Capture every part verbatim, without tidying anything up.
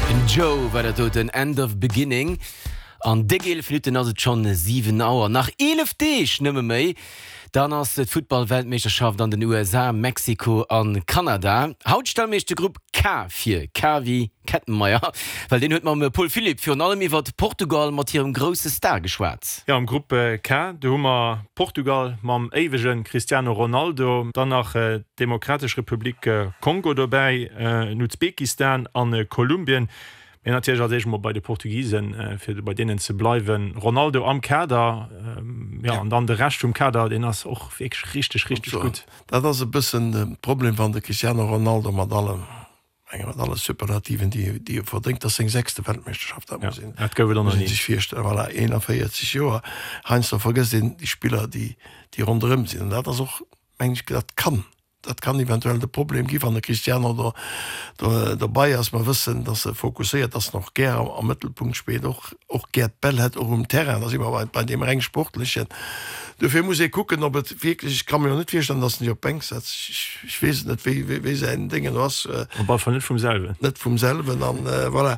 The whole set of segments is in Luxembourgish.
Den Joe war dat doten, End of Beginning. An déck eelef Minutten ass et schonn siwen Auer. Nach eelef Deeg nëmme méi, dann ass d'Futtball-Weltmeeschterschaft an den U S A, Mexiko a Kanada. Haut stelle mir iech de Grupp K vir, K wéi Kettenmeier, well deen huet mam Paul Philipp virun allem iwwert Portugal mat hirem grousse Star geschwat. Jo, am Grupp K, do hu mer Portugal mam éiwege Cristiano Ronaldo, dann nach d'Demokratesch Republik Kongo dobäi, Usbekistan a Kolumbien. Mee natierlech als éischt emol bei de Portugisen, fir bei deenen ze bleiwen. Ronaldo am Kader, jo, an dann de Rescht vum Kader, deen ass och wierklech richteg, richteg gutt. Dat ass e bëssen de Problem, wann de Cristiano Ronaldo mat allem, menge mat alle Superlativen, déi déi e verdéngt, ass seng sechste Weltmeeschterschaft, dat muss een Dat gouf et och nach muss een ni. sech virstellen, voilà, eenanvéierzeg Joer. Heiansdo vergësst een déi Spiller, déi déi ronderëm sinn, an dat ass och, meng ech, dat kann dat kann eventuell de Problem gi wann de Cristiano do do dobei ass. Mer wëssen, datt e fokusséiert ass, en och gär am am Mëttelpunkt spillt, och och gär d'Bäll hätt, och um Terrain, da si mer bei bei deem reng Sportlechen. Dofir muss ee kucken, ob et wierklech, ech ka mir jo net virstellen, datt en sech op d'Bänk setzt, ech ech weess et net, wéi wéi wéi säin Déngen do ass. Op alle Fall net vum selwen. Net vum selwen an voilà,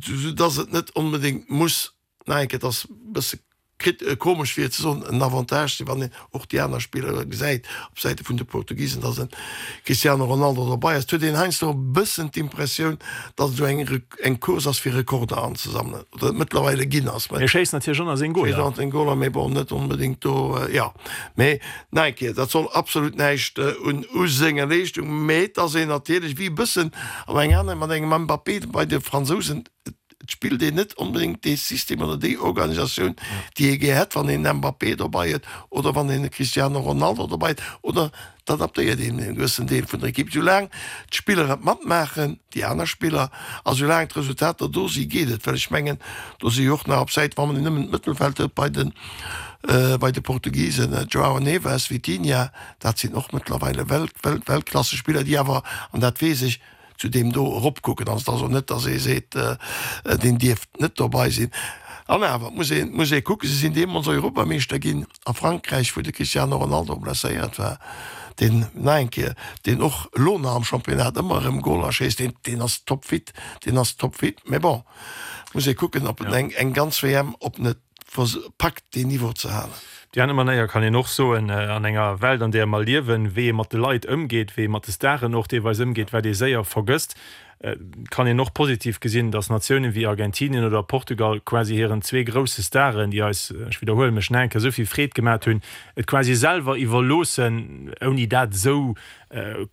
soudatt et net onbedéngt muss, nach eng Kéier, et ass e bësse krit komesch fir et ze soen, en Avantage sinn, wann een och déi aner Spiller gesäit op Säite vun de Portugisen, datt e Cristiano Ronaldo dobei ass. Et huet een heiansdo e bëssen d'Impressioun, datt et esou eng eng Course ass fir Rekorder anzesammelen, oder et mëttlerweile ginn ass. Hie schéisst natierlech och nach seng Schéisst Goler. och seng Goler, mee bon, net onbedéngt do, jo. Mee nach eng Kéier, dat soll absolut näischt un u senger Leeschtung, mee et ass een natierlech wéi e bëssen an eng aner mat engem Mbappé bei de Fransousen, Et spillt een net onbedéngt dee System oder déi Organisatioun, déi ee gär hätt, wann een en Mbappé dobei huet oder wann een e Cristiano Ronaldo dobei huet, oder et adaptéiert een e gewëssen Deel vun der Ekipp. Soulaang d'Spiller et matmaachen, déi aner Spiller, a soulaang d'Resultater do si geet et. Well ech mengen, do si jo och nach op Säit, wa mer nëmmen d'Mëttelfeld huet bei de bei de Portugisen, Joao Neves, Vitinha, dat sinn och mëttlerweile Welt Welt Weltklassespiller, déi awer, an dat weess ech, zu deem do eropkucken. Also et ass och net, datt ee seet, deen dierft net dobei sinn. An awer muss ee muss ee kucken, si sinn deemools Europameeschter ginn a Frankräich, wou de Cristiano Ronaldo blesséiert war, deen nach eng Kéier, deen och elo nach am Championnat ëmmer erëm Goler schéisst, deen deen ass topfit, deen ass topfit. Mä bon, muss ee kucken, ob en eng eng ganz W M, ob en et packt, deen Niveau ze halen. Op déi aner Manéier kann een och soen, an enger Welt, an där mer liewen, wéi ee mat de Leit ëmgeet, wéi ee mat de Staren och deelweis ëmgeet, wat ee séier vergësst, kann een och positiv gesinn, datt Natiounen wéi Argentinien oder Portugal quasi hiren zwee grousse Staren, déi eis, ech widderhuele mech nach eng Kéier, esou vill Freed gemat hunn, et quasi selwer iwwerloossen, ouni dat esou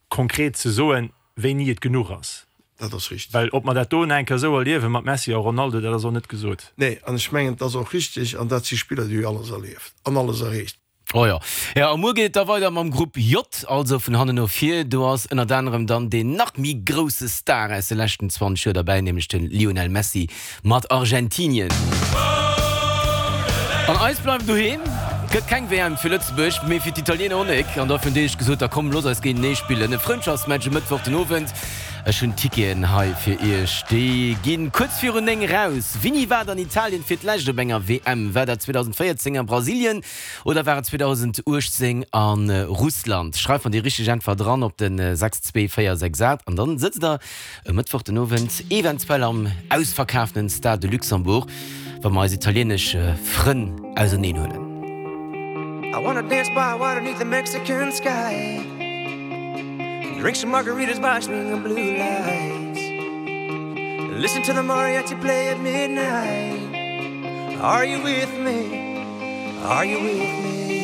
konkret ze soen, wéini et genuch ass. Dat ass richteg. Well ob mer dat do nach eng Kéier esou erliewe mat Messi a Ronaldo, dat ass och net gesot. Nee, an ech mengen, et ass och richteg. An dat si Spiller, déi hu alles erlieft an alles erreecht. Oh jo. Jo, a muer geet et da weider mam Grupp J, also vun hannen no vir. Do ass ënnert anerem dann deen nach méi grousse Star aus de leschten zwanzeg Joer derbäi, nämlech de Lionel Messi mat Argentinien. An eis bleiwen doheem. Gëtt keng W M fir Lëtzebuerg, mee fir d'Italiener och nek. An dofir hunn déi sech gesot, da komm, looss eis géintenee spillen. E Frëndschaftsmatch e Mëttwoch den Owend. Ech hunn Ticketen hei fir iech. Déi ginn kuerz virun néng raus. Wini waart an Italien fir d'lescht op enger W M? War dat zweedausendvéierzéng a Brasilien oder war et zweedausendachtzéng a Russland? Schreift mer déi richteg Äntwert dran op de sechs zwee véier sechs aacht an dann sëtzt der e Mëttwoch den Owend eventuell am ausverkaaftenen Stade de Luxembourg, wa mer eis italienesch Frënn auserneen huelen. I wanna dance by water 'neath the Mexican sky. Drink some margaritas by swinging blue lights. Listen to the mariachi play at midnight. Are you with me? Are you with me?